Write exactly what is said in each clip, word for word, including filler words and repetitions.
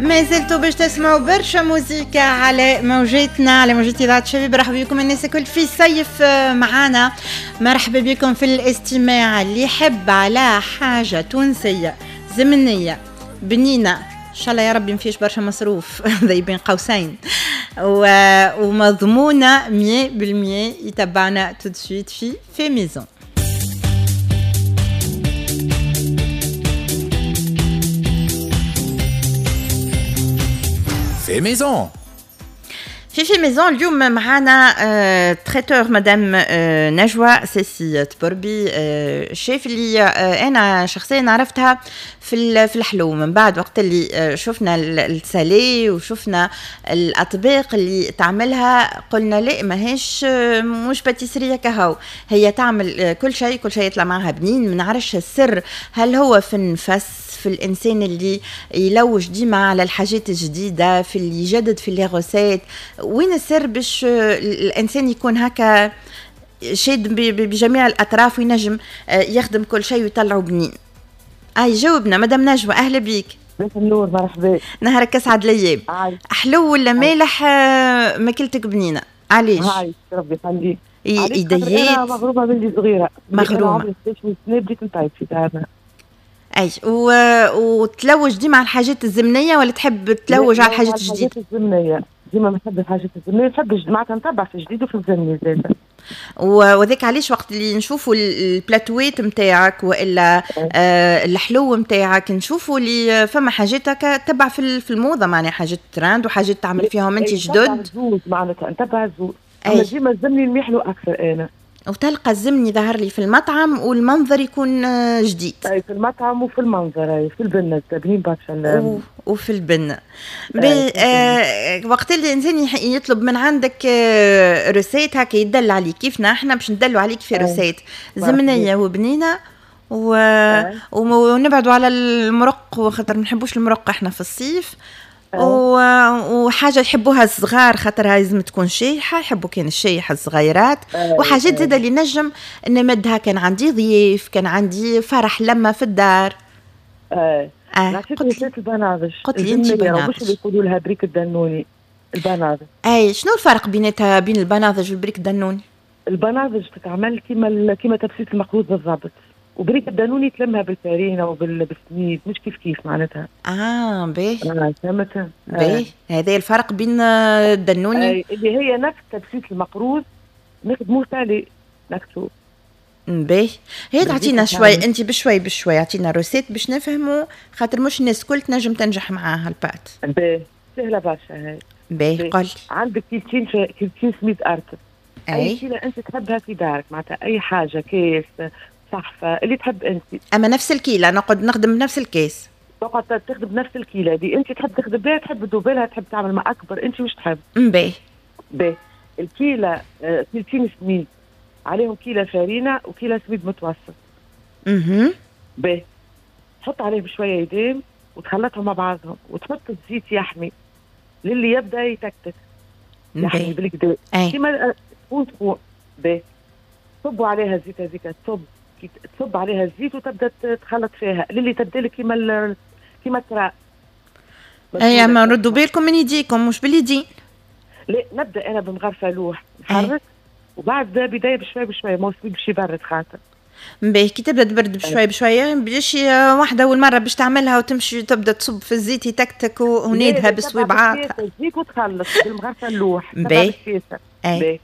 ما زلتوا باش تسمعوا برشا موزيكا على موجتنا، على موجة إذاعة شباب. مرحبا بكم الناس الكل في صيف معانا، مرحبا بكم في الاستماع. اللي يحب على حاجة تونسية زمنية بنينة، إن شاء الله يا ربي مفيش برشا مصروف ذي بين قوسين، ومضمونة مية بالمية، يتبعنا tout de suite في fait maison. fait maison. في fait maison اليوم معانا traiteur مدام نجوى سيسي تبربي، شيف اللي انا شخصيا عرفتها في في الحلو. من بعد وقت اللي شفنا ال salé وشفنا الاطباق اللي تعملها قلنا لا، ماهيش مش pâtisserie كهو، هي تعمل كل شيء، كل شيء يطلع معها بنين. ما نعرفش السر، هل هو في النفس، في الانسان اللي يلوج ديما على الحاجات الجديدة، في اللي يجدد في les recettes، وين السر باش الانسان يكون هكا شاد بجميع الاطراف وينجم يخدم كل شيء ويطلعه بنين؟ اي جاوبنا مدام نجوى، اهلا بيك. مساء النور، مرحبا. نهارك اسعد الايام. حلو ولا مالح ماكلتك بنينه؟ علاش؟ هاي ربي يخليك. يديات انا مغرومه ملي صغيرة، مغرومه عمري ستة عشر سنة بديت نطيب في دارنا. اي و... وتلوج ديما على الحاجات الزمنية ولا تحب تلوج على الحاجات الجديدة؟ الحاجات الزمنية ديما نحب الحاجات الزمنية، نحب معناتها نتبع في الجديد وفي الزمني زاده. وذاك علاش وقت اللي نشوفوا البلاتويت نتاعك والا آه الحلو نتاعك نشوفوا اللي فما حاجات هكا تبع في في الموضة، معناها حاجات ترند وحاجات تعمل فيهم انت جدد. معناتها نتبع الزوز، اما ديما الزمني نميحلو اكثر انا. وتلقى الزمني ظهر لي في المطعم والمنظر يكون جديد. اي في المطعم وفي المنظر، اي في البنه بنين برشا. و... وفي البنه. آه وقت اللي الانسان يطلب من عندك آه recette هكا يدل عليك، كيفنا احنا باش ندلوا عليك في recette زمنية وبنينه و... ونبعدوا على المرق، وخاطر ما نحبوش المرق احنا في الصيف. وحاجه يحبوها الصغار خاطرها لازم تكون شايحه، يحبوا كان الشايحه الصغيرات. وحاجات زاده اللي نجم نمدها كان عندي ضيف، كان عندي فرح، لما في الدار. اه اه قلت البناضج. قلت لي انت بناضج، مش اللي يقولوا لها بريك الدنوني، البناضج. اي شنو الفرق بيناتها بين البناضج والبريك الدنوني؟ البناضج تتعمل كيما كيما تبسيط المقروض بالضبط، وبريك الدانوني تلمها بالفارينه وبالسميد، مش كيف كيف معناتها. اه باهي. اه فهمت. باهي، هذا الفرق بين الدنوني آه اللي هي نفس تبسيط المقروض نخدموه salé نكتو. باهي، هي تعطينا شوي انت بشوي بشوي اعطينا recette باش نفهموا، خاطر مش الناس الكل تنجم تنجح معاها ال pâte. باهي، سهلة برشا هاي. باهي قل. عندك كيلتين كيلتين سميد ارطب. اي, أي كيلة انت تحبها في دارك، معناتها اي حاجة، كيس، صحفة، اللي تحب انت. اما نفس الكيله نقعد نخدم بنفس الكيس. تقعد تخدم بنفس الكيله دي انت تحب تخدم بها، تحب تدوبلها، تحب تعمل مع اكبر، انت واش تحب. باهي. باهي، الكيله كيلتين سميد عليهم كيله فرينه وكيله سميد متوسط. اها. باهي، تحط عليهم شوية يدام وتخلطهم مع بعضهم وتحط الزيت يحمي للي يبدا يتكتك. يحمي بالكدا. كيما سخون سخون. باهي، تصبوا عليها الزيت هذيك، تصب تصب عليها الزيت وتبدا تخلط فيها للي تبدا لك كيما كيما الترا. اي ما ردوا بالكم من يديكم مش باليدين. لا نبدا انا بمغرفه لوح نحرك وبعد بداية بشوية بشوية، ما باش يبرد خاطر. باهي، كي تبدا تبرد بشوية بشوية باش واحدة اول مرة باش تعملها وتمشي تبدا تصب في الزيت يتكتك ونادها بصويبعاتها. الزيت وتخلط بالمغرفه اللوح. باهي. اي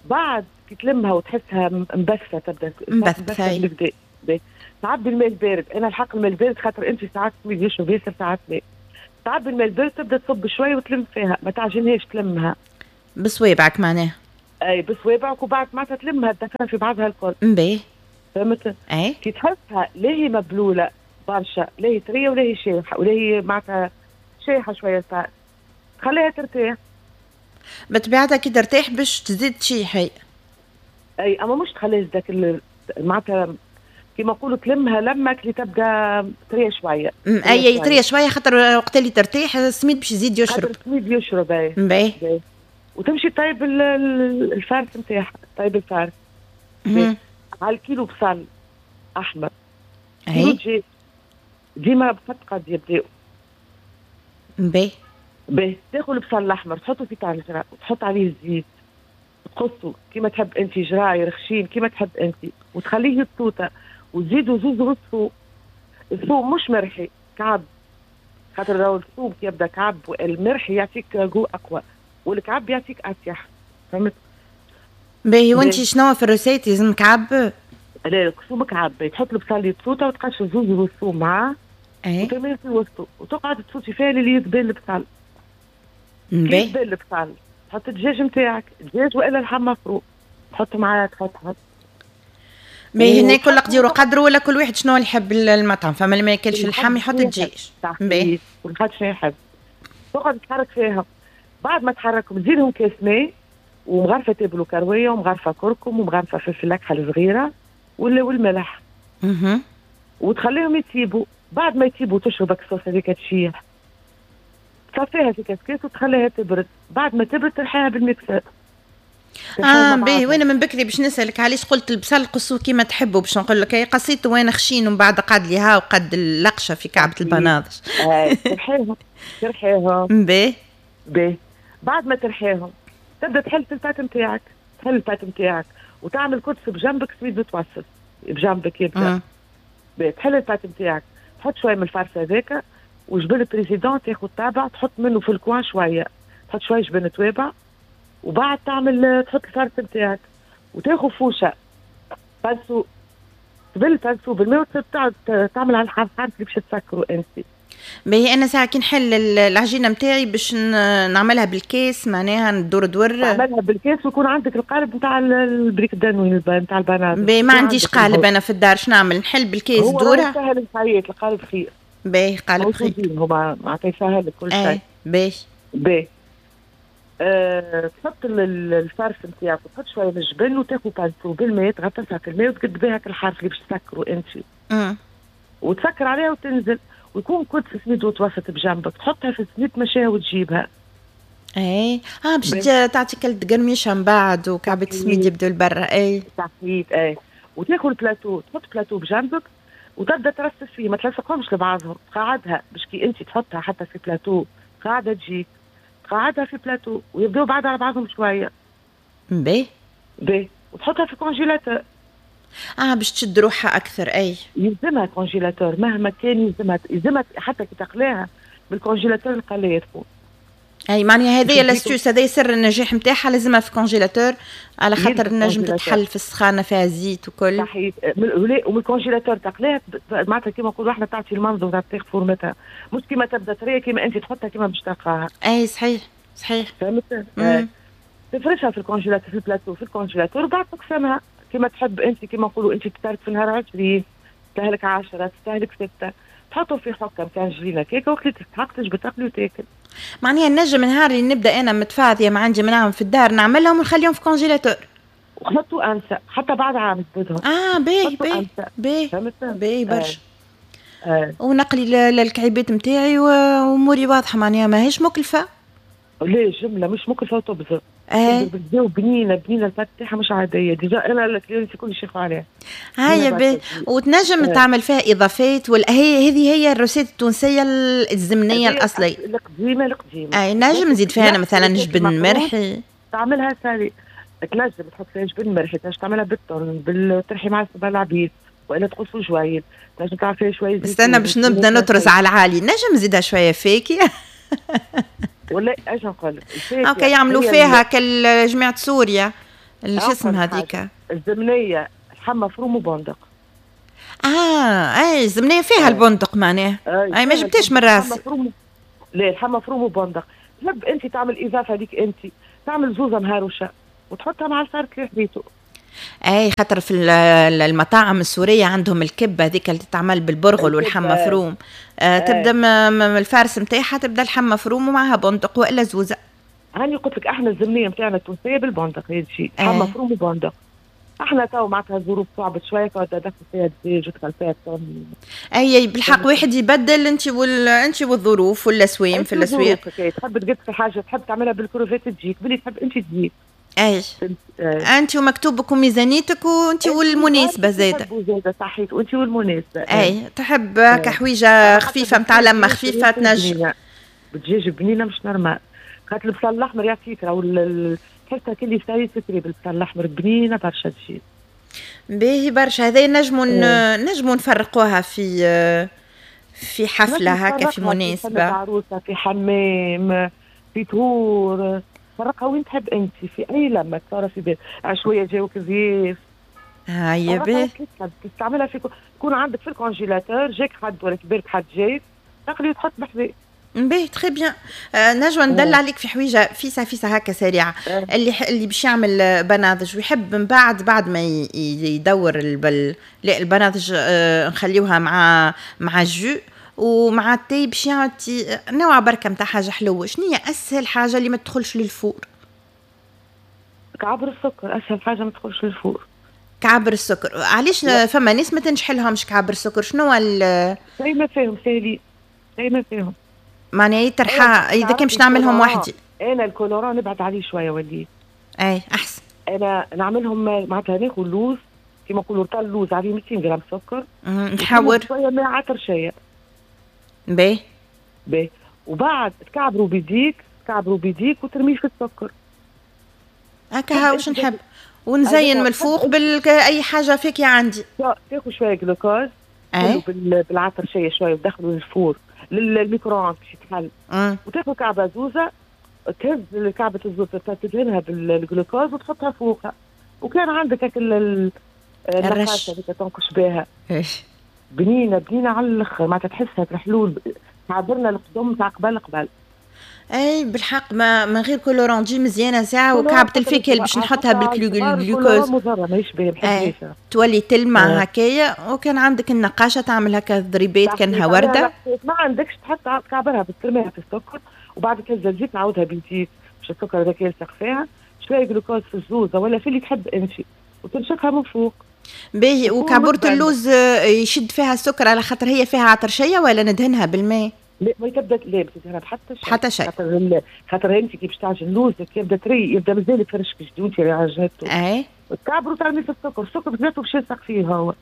بعد كي تلمها وتحسها مبثه تبدا مبثه بالكدا. تعبي الماء البارد، انا الحق الماء البارد خاطر انت ساعات سميد يشرب ياسر ساعات لا. تعبي الماء البارد تبدا تصب شوية وتلم فيها، ما تعجنهاش تلمها بصوابعك معناها. اي بصوابعك، وبعد معناتها تلمها تدخلها في بعضها الكل. باهي. فهمت؟ اي كي تحسها لا هي مبلوله برشا، لا هي طرية ولا هي شايحه، ولا هي معناتها شايحه شوية، تخليها ترتاح. بطبيعتها كي ترتاح باش تزيد تشيح هي. اي اما مش تخليها ذاك معناتها كيما نقولوا تلمها لمك اللي تبدا طرية شوية. اي طرية شوية خاطر وقت اللي ترتاح السميد باش يزيد يشرب. السميد يشرب. اي باهي. وتمشي طيب ال farce نتاعها، طيب ال farce على الكيلو بصل احمر. اي ديما بقد قد يبداو باهي. باهي، تاخذ البصل الاحمر تحطه في طنجره وتحط عليه الزيت، تقصه كيما تحب انت، جراير خشين كيما تحب انت، وتخليه يتوطى، وتزيدوا زوز غص ثوم. الثوم مش مرحي، كعب، خاطر لو الثوم كي يبدا كعب والمرحي يعطيك goût اقوى، والكعب يعطيك اريح، فهمت؟ باهي، وانت شنو في ال recette لازم كعب؟ لا، ثوم كعب، تحط البصل يتسوطه وتقش زوز غص ثوم معاه. اي. وترميه في وسطه وتقعد تسوتي فيها اللي يذبل البصل. باهي. يذبل البصل تحط الدجاج نتاعك، دجاج والا لحم مفروم، تحط معاه تحطها. باهي، هنا كل قدير وقدره ولا كل واحد شنو اللي يحب المطعم، فما اللي ما ياكلش اللحم يحط الدجاج. باهي، كل واحد شنو يحب. تقعد تحرك فيها، بعد ما تحركهم تزيدهم كاس ماء ومغرفه تابل وكرويه ومغرفه كركم ومغرفه فلفل اكحل صغيرة والملح. اها. وتخليهم يطيبوا، بعد ما يطيبوا تشرب الصوص هذيك تشيح، تصفيها في كاسكيس وتخليها تبرد، بعد ما تبرد ترحيها بال mixeur. اه باهي، وانا من بكري باش نسالك علاش قلت البصل قصوه كيما تحبوا، باش نقول لك قصيته وانا خشين ومن بعد قعد لي ها وقد اللقشه في كعبه البناضج. آه ترحيهم ترحيهم. باهي. باهي، بعد ما ترحيهم تبدا تحل في ال pâte نتاعك، تحل ال pâte نتاعك وتعمل كدس بجنبك سميد متوسط بجنبك يبدا. باهي، تحل ال pâte نتاعك، تحط شوية من ال farce هذاك وجبن Président تاخذ طابع تحط منه في ال coin شوية، تحط شوية جبن توابع، وبعد تعمل تحط ال farce نتاعك وتاخذ فوشه pinceau، تبل pinceau بالماء وتعمل على الحرف اللي باش تسكروا انت. باهي، انا ساعة كي نحل العجينة نتاعي باش نعملها بالكاس، معناها ندور دور تعملها بالكاس ويكون عندك القالب نتاع البريك دانوي نتاع البنات. باهي، ما عنديش قالب انا في الدار، شنو نعمل؟ نحل بالكاس دوره؟ هو سهل الحياة، القالب خير. باهي، قالب خير هما معناتها يسهل كل شيء. باهي. باهي، أه، تحط ال farce نتاعك وتحط شوية من الجبن وتاخذ pinceau بالماء تغطسها في الماء وتقد بها الحرف اللي باش تسكروا انت. وتسكر عليها وتنزل، ويكون كدس سميد وتوسط بجنبك، تحطها في السميد تمشيها وتجيبها. اي اه باش تعطيك القرميشه من بعد وكعبه السميد يبدو لبرا. اي صحيت. اي، وتاخذ بلاتو، تحط بلاتو بجنبك وتبدا ترصف فيه، ما تلصقهمش لبعضهم، تقعدها باش كي انت تحطها حتى في بلاتو قاعدة تجيك، تقعدها في بلاتو ويبداو بعد على بعضهم شوية. باهي. باهي، وتحطها في congélateur. اه باش تشد روحها اكثر. اي يلزمها congélateur مهما كان، يلزمها يلزمها حتى كي تقليها بال congélateur القلايه تكون. اي معناها هذه l'astuce، هذا سر النجاح نتاعها، لازمها في congélateur على خاطر نجم تتحل في السخانه فيها زيت وكل. صحيح، ومن ال congélateur تقليها معناتها كيما نقولوا احنا تعطي المنظر تاع فورمتها، مش كيما تبدا طرية كيما انت تحطها كيما باش تلقاها. اي صحيح صحيح. فهمت؟ تفرشها في ال congélateur في البلاتو في ال congélateur وبعد تقسمها كيما تحب انت، كيما نقولوا انت تستهلك في النهار عشرين، تستهلك عشرة، تستهلك ستة، تحطهم في حكه نتاع جلينه كيكة وقت اللي تستحق تجبد تاكل وتاكل. معناها نجم نهار اللي نبدا انا متفاضيه ما عندي ما نعمل في الدار نعملهم ونخليهم في congélateur. وحطوا انسى حتى بعد عام تبدهم. اه باهي باهي باهي باهي برشا. آه. ونقلي الكعيبات نتاعي واموري واضحة، معناها ماهيش مكلفة. لا جملة مش مكلفة وتبذر. ايه بنينه بنينه ال pâte تاعها مش عادية، déjà انا ال clients الكل يشيخوا عليها. هيا باهي، وتنجم اه. تعمل فيها اضافات ولا هي هذه هي ال recette التونسية الزمنية الاصلية القديمة القديمة. اي نجم نزيد فيها انا مثلا جبن مرحي، تعملها salé، تنجم تحط فيها جبن مرحي، تنجم تعملها بالطن بالترحي مع السبع العبيد والا تقصوا جويد، تنجم تعمل فيها شوية زيت. استنى باش نبدا نطرز على العالي، نجم نزيدها شوية فاكهة ولا اش نقول لك؟ هكا يعملوا فيها كال جماعة سوريا شو اسمها هذيك الزمنية، لحم مفروم وبندق. اه اي الزمنية فيها آه. البندق معناها. اي, أي ما جبتهاش من راسي. لا لحم مفروم وبندق، تحب انت تعمل اضافه ليك انت، تعمل زوزه مهروشه وتحطها مع ال farce اللي حبيته. اي خاطر في المطاعم السورية عندهم الكبه هذيك اللي تتعمل بالبرغل واللحم مفروم. آه تبدا ال farce نتاعها تبدا اللحم مفروم ومعها بندق والا زوزه. هاني قلت لك احنا الزمنية نتاعنا التونسية بالبندق هي الشيء، لحم مفروم وبندق. احنا تو معناتها الظروف صعبت شوية تدخل فيها الدجاج وتدخل فيها الطن. اي بالحق واحد يبدل انت وال انت والظروف والاسوام في الاسواق. تحب تقد في حاجة تحب تعملها بالكروفيت تجيك، باللي تحب انت تجيك. اي انت ومكتوبك وميزانيتك وانت والمناسبة زاده. زاده صحيت، وانت والمناسبة. اي تحب كحويجه خفيفة نتاع لمه خفيفة تنجم. بالدجاج بنينه مش normal، خاطر البصل الاحمر يعطيك راهو تحسها كلي ساي سكري بالبصل الاحمر، بنينه برشا تجي. باهي برشا. هذا نجموا نجموا نفرقوها في في حفلة هكا، في مناسبة، في عروسه، في حمام، في طهور، فرقها وين تحب انت، في اي لمه تصور في بيت عشويه جاوك ضيف. هيا باهي. تستعملها في يكون عندك في ال congélateur، جاك حد ولا كبرك حد جاي تقلي وتحط بحذاك. باهي très bien. آه نجوى ندل عليك في حويجه فيسا فيسا هكا سريعة. أه. اللي اللي باش يعمل بناضج ويحب من بعد بعد ما يدور البل لا البناضج آه نخليوها مع مع jus ومع التاي باش يعطي نوع بركة نتاع حاجة حلوة. شنو هي اسهل حاجة اللي ما تدخلش لل four؟ كعبر السكر اسهل حاجة ما تدخلش لل four. كعبر السكر علاش؟ فما ناس ما تنجح لهمش كعبر السكر، شنو ال زي ما فيهم ساهلين، زي ما فيهم معناها يترحى اذا كان باش نعملهم وحدي. انا ال colorant نبعد عليه شوية وليت. اي احسن. انا نعملهم معناتها ناخذ لوز كيما نقولوا رطل لوز عليه مئتين غرام سكر، نحور شوية ماء عطرشيه. باهي باهي، وبعد تكعبروا بيديك، تكعبروا بيديك وترميه في السكر. هكا واش نحب، ونزين من الفوق باي حاجة فيك عندي. تاخذ شوية جلوكوز اي بالعطرشيه شوية وتدخلوا لل four لل micro-ondes باش يتحل، وتاخذ كعبه زوزه، تهز كعبه الزوزه تدهنها بالجلوكوز وتحطها فوقها، وكان عندك هاك الرش هذيك تنقش بها. بنينه بنينه على الاخر، معناتها تحسها الحلول تعبرنا القدم تاع قبل قبل. اي بالحق ما من غير colorant تجي مزيانه ساعة. وكعبه الفاكهة اللي باش نحطها بالجلوكوز مضرة ماهيش باهيه، تولي تلمع هكايا. وكان عندك النقاشه تعمل هكا ضريبات كانها ورده. ما عندكش تحط كعبرها ترميها في السكر وبعد تهز الزيت تعاودها بالزيت باش السكر هذاك يلصق فيها، شوية جلوكوز في الزوزه ولا في اللي تحب انت، وترشقها من فوق. باهي. وكعبورة اللوز يشد فيها السكر على خاطر هي فيها عطرشيه ولا ندهنها بالماء؟ لا ما تبدا لا ما تدهنها بحتى شيء. حتى شيء. خاطر خاطر انت كي باش تعجن لوزك يبدا طري، يبدا مازال فرشك جديد اللي عجنته. اي تكعبروا تعملي في السكر، السكر بذاته باش يلصق فيه هو.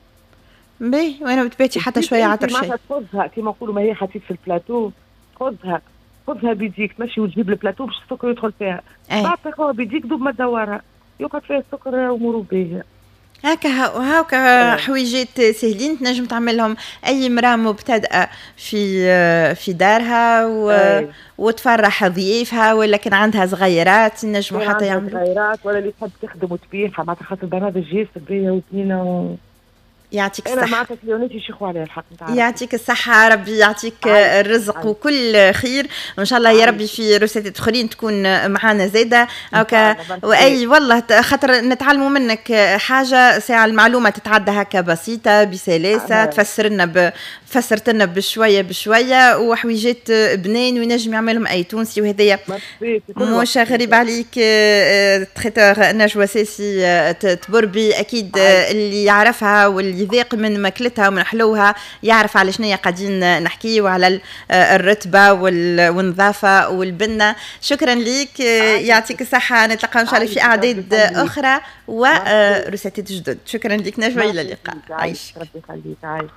باهي. وانا بتباتي حتى شوية عطرشيه. معناتها تخذها كيما نقولوا ما هي حطيت في البلاتو، خذها خذها بيديك تمشي وتجيب البلاتو باش السكر يدخل فيها. بعد تاخذها بيديك دوب ما تدورها يقعد فيها السكر اموره باهيه. هكا هاكا حويجات سهلين تنجم تعملهم اي امراة مبتدئة في في دارها و... وتفرح ضيوفها، ولا كان عندها صغيرات نجموا حتى يعملوا صغيرات، ولا اللي تحب تخدم وتبيعها معناتها خاطر البرنامج ياسر باهيه وبنينه و... يعطيك الصحة. أنا معناتها كليوناتي يشيخوا عليها الحق نتاع. يعطيك الصحة، ربي يعطيك الرزق عايش. وكل خير، وإن شاء الله يا ربي في روسيتات أخرين تكون معانا زادة. هكا وأي والله خاطر نتعلموا منك حاجة ساعة، المعلومة تتعدى هكا بسيطة بسلاسة، تفسر لنا ب... فسرت لنا بشوية بشوية وحويجات بنين وينجم يعملهم أي تونسي، وهذايا مش غريب عليك. traiteur نجوى ساسي تبربي أكيد اللي يعرفها واللي يذاق من ماكلتها ومن حلوها يعرف على شنية قاعدين نحكي، وعلى الرتبة والنظافة والبنة. شكرا ليك، يعطيك الصحة. نتلقى إن شاء الله في أعداد أخرى وروسيتات جدد. شكرا لك نجوى، إلى اللقاء. عايش ربي يخليك. عايش.